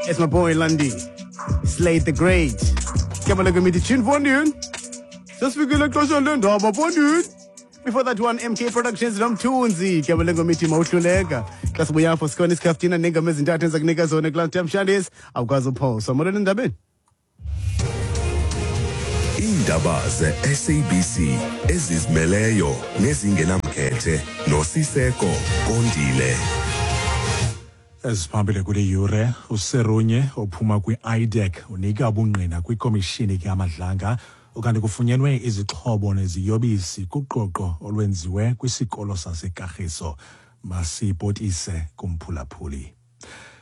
It's my boy Lundy, Slade the Great. Ke bale komiti tune fondini. Sesifikile xesha lendaba fondini. Before that one, MK Productions nomthunzi. Ke bale komiti mawuhluleka. Xa sibuya apho sikhona isikhaftina neengoma ezintathu endiza kunika zona kulaa Mshandisi. Awukwazi uphosa. Molweni endabeni. Iindaba ze-SABC ezizimeleyo nezingenamkhethe noSiseko Kondile. Eziphambili kule yure, uSerunye ophuma kwi-IDAC unika ubungqina kwikomishini kaMadlanga, ukanti kufunyenwe izixhobo neziyobisi kuqoqo olwenziwe kwisikolo saseKagiso. Masipotise kumphulaphuli.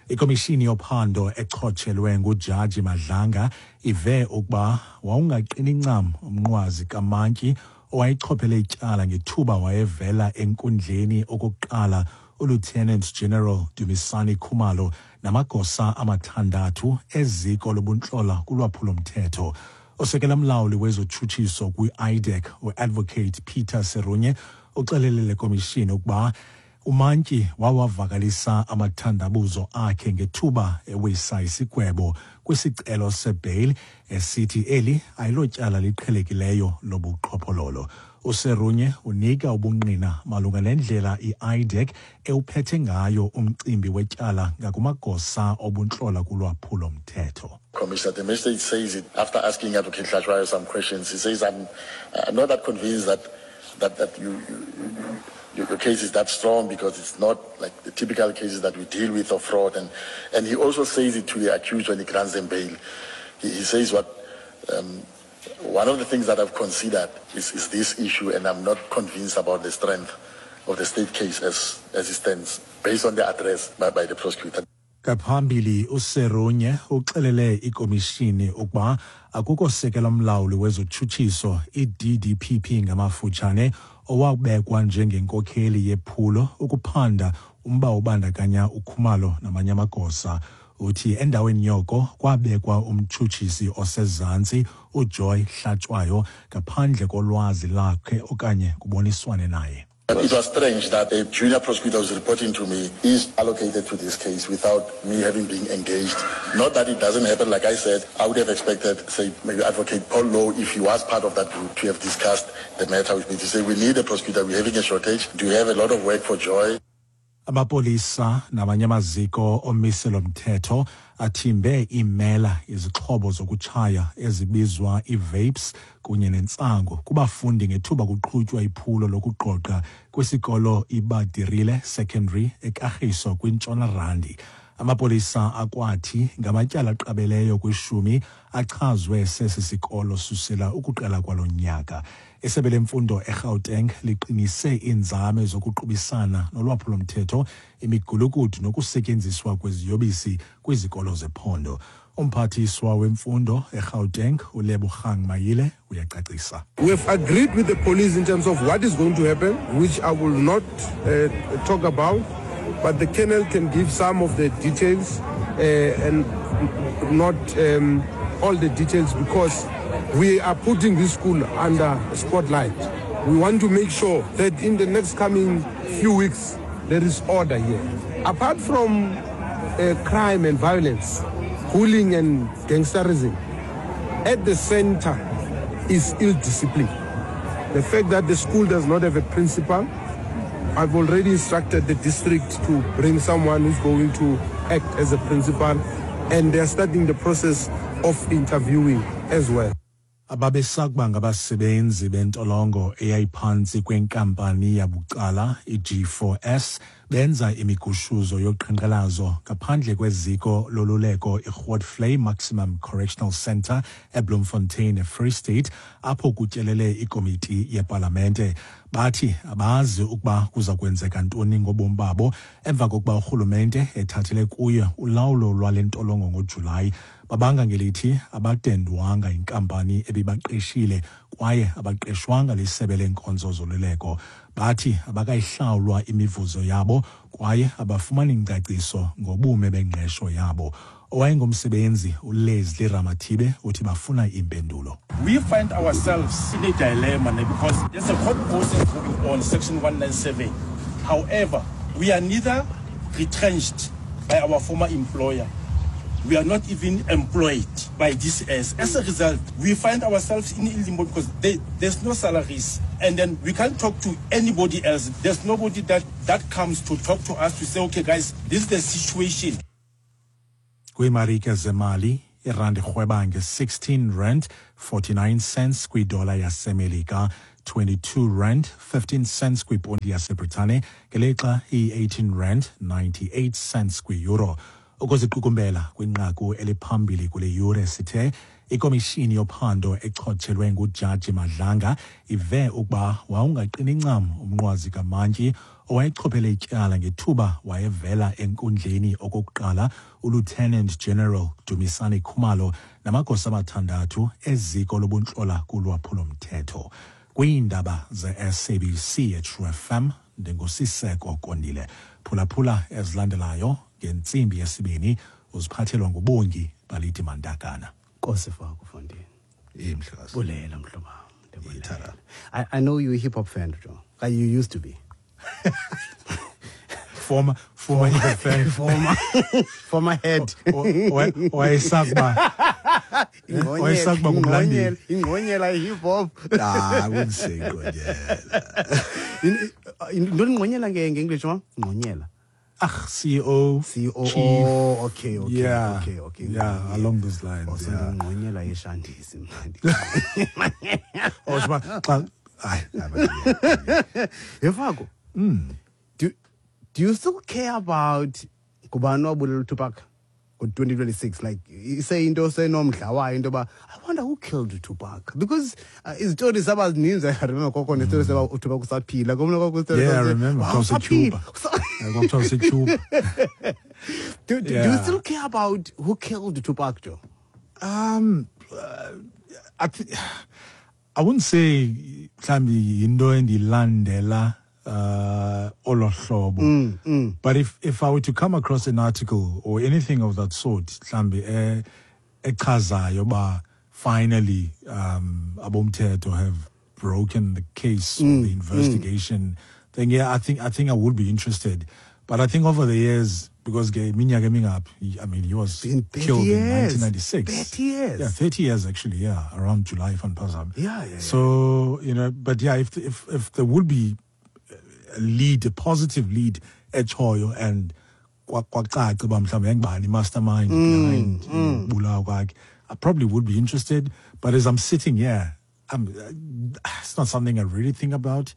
Ikomishini yophando echotshelwe nguJaji Madlanga ive ukuba wawungaqini ncam umnqwazi kamantyi owayechophele ityala ngethuba wayevela enkundleni okokuqala uLieutenant General Dumisani Khumalo namagosa amathandathu eziko lobuntlola kulwaphulo-mthetho. Osekela mlawuli wezotshutshiso kwi-IDAC, uAdvocate Peter Serunye, uxelele le komishini ukuba umantyi wawavakalisa amathandabuzo akhe ngethuba ewisa isigwebo kwisicelo sebail, esithi eli ayilotyala liqhelekileyo lobuqhophololo. USerunye unika ubungqina malunga nendlela i-IDAC ewuphethe ngayo umcimbi wetyala ngakumagosa obuntlola kulwaphulo-mthetho. Commissioner, the magistrate says it after asking Advocate Hlatshwayo some questions. He says, I'm not that convinced that your case is that strong, because it's not like the typical cases that we deal with of fraud. And he also says it to the accused when he grants them bail. He says one of the things that I've considered is this issue, and I'm not convinced about the strength of the state case as it stands, based on the address by the prosecutor. Ngaphambili uSerunye uxelele ikomishini ukuba akukho sekela mlawuli wezotshutshiso, i-DDPP ngamafutshane, owabekwa njengenkokheli yephulo ukuphanda umba obandakanya uKhumalo namanye amagosa. Uthi endaweni yoko kwabekwa umtshutshisi osezantsi uJoy Hlatshwayo ngaphandle kolwazi lakhe okanye kuboniswane naye. It was strange that a junior prosecutor was reporting to me is allocated to this case without me having been engaged. Not that it doesn't happen. Like I said, I would have expected, say, maybe Advocate Paul Lowe, if he was part of that group, to have discussed the matter with me, to say, we need a prosecutor, we're having a shortage, do you have a lot of work for Joy? Amapolisa namanye amaziko omiselo mthetho athimbe iimela, izixhobo zokutshaya ezibizwa ii-vapes kunye nentsangu kubafundi ngethuba kuqhutywa iphulo lokuqoqa kwisikolo iBadirile Secondary eKagiso kwiNtshona Randi. Amapolisa akwathi ngamatyala aqabeleyo kwishumi achazwe sesi sikolo susela ukuqala kwalo nyaka. Isebe lemfundo eGauteng liqinise iinzame zokuqubisana nolwaphulo-mthetho, imigulukudu nokusetyenziswa kweziyobisi kwizikolo zephondo. Umphathiswa wemfundo eGauteng uLebogang Maile uyacacisa. We've agreed with the police in terms of what is going to happen, which I will not talk about, but the colonel can give some of the details and not all the details, because we are putting this school under spotlight. We want to make sure that in the next coming few weeks there is order here. Apart from crime and violence, bullying and gangsterism, at the center is ill discipline. The fact that the school does not have a principal, I've already instructed the district to bring someone who's going to act as a principal, and they're starting the process of interviewing as well. Ababesakuba ngabasebenzi bentolongo eyayiphantsi kwenkampani yabucala i-G4S benza imigushuzo yoqhankqalazo ngaphandle kweziko loluleko iGrootvlei Maximum Correctional Centre eBloemfontein eFree State, apho kutyelele ikomiti yepalamente. Bathi abazi ukuba kuza kwenzeka ntoni ngobomi babo emva kokuba urhulumente ethathele kuye ulawulo lwale ntolongo ngoJulayi. Babanga ngelithi abadendwanga inkampani ebibaqeshile kwaye abaqeshwanga lisebe leenkonzo zoluleko. Bathi abakayihlawulwa imivuzo yabo kwaye abafumani ngcaciso ngobume bengqesho yabo. Owayengumsebenzi uLeslie Ramathibe uthi bafuna impendulo. We find ourselves in a dilemma because there's a court process going on, Section 197. However, we are neither retrenched by our former employer. We are not even employed by DCS. As a result, we find ourselves in limbo because there's no salaries. And then we can't talk to anybody else. There's nobody that comes to talk to us to say, okay, guys, this is the situation. Kwiimarike zemali, irandi irhweba nge-16 rand 49 cents kwidola yaseMelika, 22 rand 15 cents kwiponti yaseBritane, ngelixa iyi-18 rand 98 cents kwi-euro. Ukuziqukumbela kwinqaku eliphambili kule yure sithe ikomishini yophando echotshelwe nguJaji Madlanga ive ukuba wawungaqini ncam umnqwazi kamantyi owayechophele ityala ngethuba wayevela enkundleni okokuqala uLieutenant General Dumisani Khumalo namagosa amathandathu eziko lobuntlola kulwaphulo-mthetho. Kwiindaba ze-SABC eTrue FM, ndinguSiseko Kondile. Phulaphula ezilandelayo ngentsimbi yesibini, uziphathelwa nguBongi Baliti Mandakana. Nkosi Faku Fondini. Mhlekazi. Bulela mhlobo wam. I know you're a hip hop fan, Joe. You used to be. Former hip hop fan. Former head. Wayesakuba ngumlandeli. Ingqonyela hip hop. Nah, I wouldn't say ingqonyela. Intoni ingqonyela nge-English, ma'am? Ingqonyela. CEO, CEO, chief. Oh, okay, yeah, okay. Yeah, along those lines. Also, yeah. Ngqonyela yeshandisi mnandi. Oh, Yefako. Do you still care about ngubani owabulela uTupac ngo-2026? Like, say into senomdla wayo into yoba, I wonder who killed Tupac, because izitori zaba zininzi. I remember kwakho nestory seba uTupac usaphila. Yeah, I remember. Cuba. Cuba. Do you still care about who killed Tupac, Joe? I wouldn't say mhlawumbi yinto endilandela olo hlobo. But if I were to come across an article or anything of that sort, mhlawumbi echazayo uba finally abomthetho have broken the case or the investigation, then yeah, I think I would be interested. But I think over the years, because minyaka emingaphi, I mean, he was killed in 1996. 30 years. Yeah, 30 years actually, yeah, around July, if I'm positive. Yeah. So, you know, but yeah, if there would be a lead, a positive lead echoyo and kwacaca uba mhlawumbi yangubani mastermind behind ubulawa kwakhe, I probably would be interested. But as I'm sitting here, it's not something I really think about.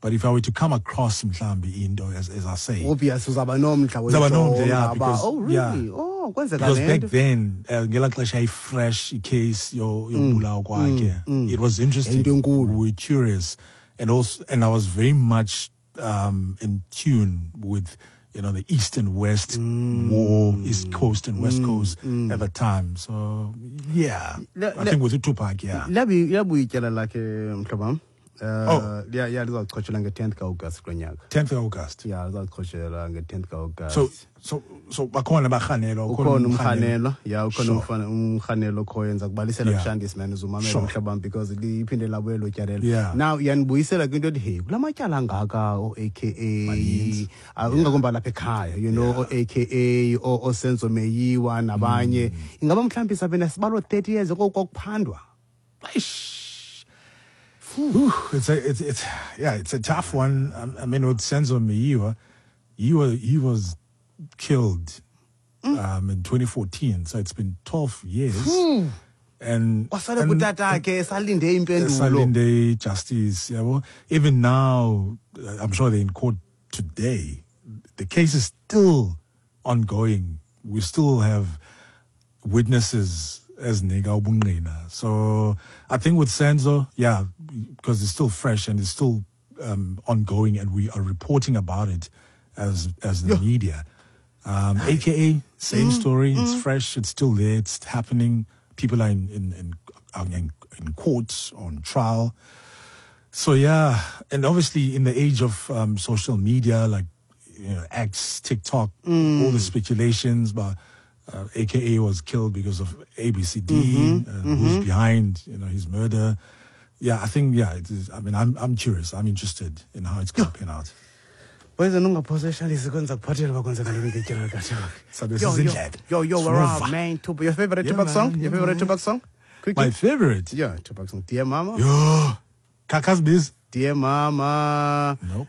But if I were to come across mhlawumbi into, as I say, obvious uzaba nomdla, yeah, because, oh really? Yeah. Oh, kwenzeka because back then ngela xesha fresh case yobulawa kwakhe, it was interesting. We were curious, and also, and I was very much in tune with, you know, the East and West war, East Coast and West Coast at the time. So yeah, I think with Tupac, yeah. Liyabuya ityala lakhe mhlobo wam. Yeah, lizawuchotshelwa nge-10th ka-August kulo nyaka. 10th ka-August. Yeah, lizawuchotshelwa nge-10th ka-August. So bakhona abarhanelwa, ukhona umrhanelwa. Yeah, ukhona umrhanelwa okhoyo. Ndiza kubalisela kushandisi man, uzumamela mhlobo wam, because liphinde labuye lo tyalelo. Now yanibuyisela kwinto ethi, hey, kula matyala angaka o-AKA, ingakumbi lapha ekhaya, you know, o-AKA, oSenzo Meyiwa nabanye. Ingaba mhlawumbi sabe nesibalo 30 years okokuphandwa. Eish. It's a tough one. I mean, with Senzo Meyiwa, he was killed in 2014, so it's been 12 years. And salinde justice. Yeah, well, even now, I'm sure they're in court today. The case is still ongoing. We still have witnesses as nega ubungqina. So I think with Senzo, yeah, because it's still fresh and it's still ongoing, and we are reporting about it as the media. AKA, same story. It's fresh. It's still there. It's happening. People are in courts, on trial. So yeah, and obviously in the age of social media, like, you know, X, TikTok, all the speculations, but AKA was killed because of ABCD, who's behind, you know, his murder. Yeah, I think, yeah, it is. I mean, I'm curious. I'm interested in how it's going to pan out. Poison ungaphoseshalisi kwenza kuphathela bakwenzeka ntoni ngetyala likaTupac. Sabe Yo, yo, sizindlebe. yo, yo, we're Simuva. out, man. Tupac. Your favorite Yeah, Tupac man, song? yeah, Your favorite man. Tupac song? Quickly. My favorite. Yeah, Tupac song. Dear Mama. Yo. Kakas biz. Dear Mama. Nope.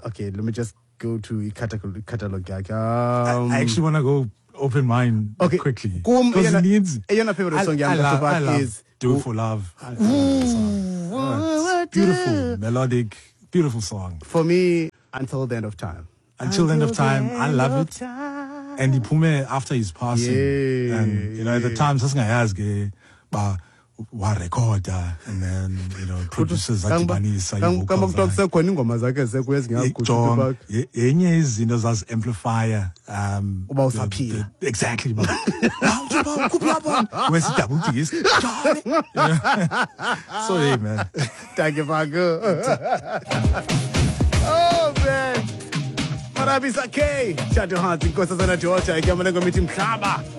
Okay, let me just go to catalog. Catalog. I actually want to go open mine Okay. quickly. Kum, Because eyona- it needs. eyona favorite song yam I love, kaTupac I love is- Do It For Love. I love that song. Oh, it's beautiful, melodic, beautiful song. For me, Until the End of Time. Until the End of Time, I love it. And iphume after his passing. Yeah, and, you know, at the yeah. time, sasingayazi ke ba warekhoda and then, you know, producers adibanisa Kamba ii-vocals kuthiwa zakhe. kusekhona iingoma zakhe zekuyo ezingaguqu Jonga, Tupac. yenye izinto zazi-amplifier Uba usaphila. exactly ba. Wow, Tupac, ukhuphe album. Where's the double disc? Johnny. So hey man. Thank you, Paco. Oh, man. Marabisa K. Shadow Hearts, Inkosazana Georgia. Igama lengoma ithi Mhlaba.